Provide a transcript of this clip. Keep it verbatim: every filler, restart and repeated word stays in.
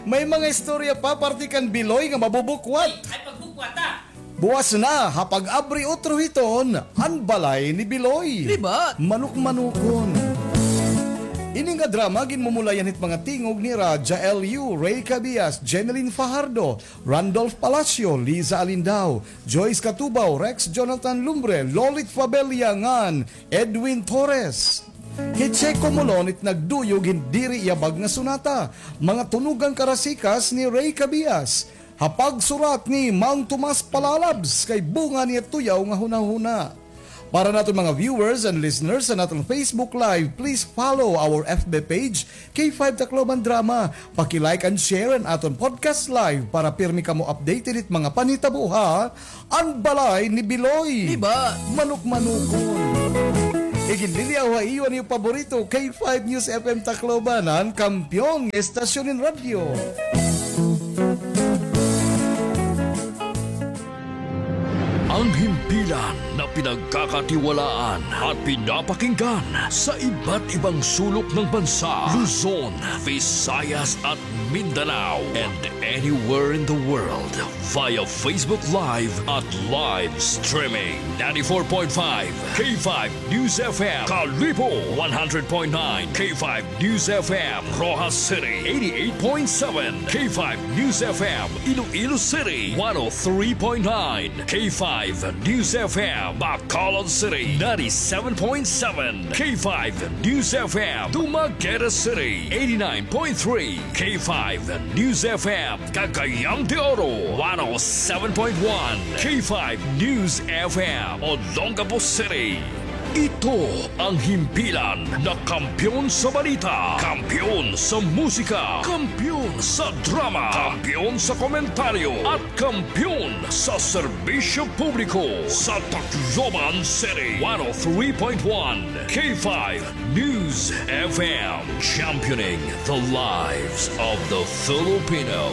May mga istorya pa parte kan Biloy nga mabubukwat. Ay, pagbukwat, ah. Buwas na ha Pag-abri Otro Hiton, an balay ni Biloy. Libat. Manukmanukon. Ini nga drama ginmumulayan hit mga tingog ni Raja L U, Rey Cabias, Jeneline Fajardo, Randolph Palacio, Liza Alindao, Joyce Catubao, Rex Jonathan Lumbre, Lolit Fabella ngan Edwin Torres. Hi Checo Molon it nagduyog hin diri yabag nga sonata, mga tunog han karasikas ni Rey Cabias, ha pagsurat ni Mang Tomas Palalabs kay bunga niya tuyaw nga hunahuna. Para naton mga viewers and listeners sa naton Facebook Live, please follow our F B page, K five Tacloban Drama. Paki-like and share an aton podcast live para pirmi kamo updated hit mga panhitabo ha An Balay ni Biloy. Libat. Manukmanukon. Iginliliyaw ha iyo an iyo paborito, K five News F M Tacloban, an kampeon nga estasyon hin radyo. Ang himpilan na pinagkakatiwalaan at pinapakinggan sa iba't ibang sulok ng bansa, Luzon, Visayas at Mindanao, and anywhere in the world via Facebook Live at live streaming. Ninety-four point five K five News F M, Kalibo, one hundred point nine K five News F M, Roxas City, eighty-eight point seven K five News F M, Iloilo City, one oh three point nine K five News F M, Bacolod City, ninety-seven point seven K five News F M, Dumaguete City, eighty-nine point three K five News F M, Cagayan de Oro, one oh seven point one K five News F M, Olongapo City. Ito ang himpilan na kampeon sa balita, kampeon sa musika, kampeon sa drama, kampeon sa komentaryo, at kampeon sa serbisyo publiko sa Tacloban City. One oh three point one K five News F M, championing the lives of the Filipino.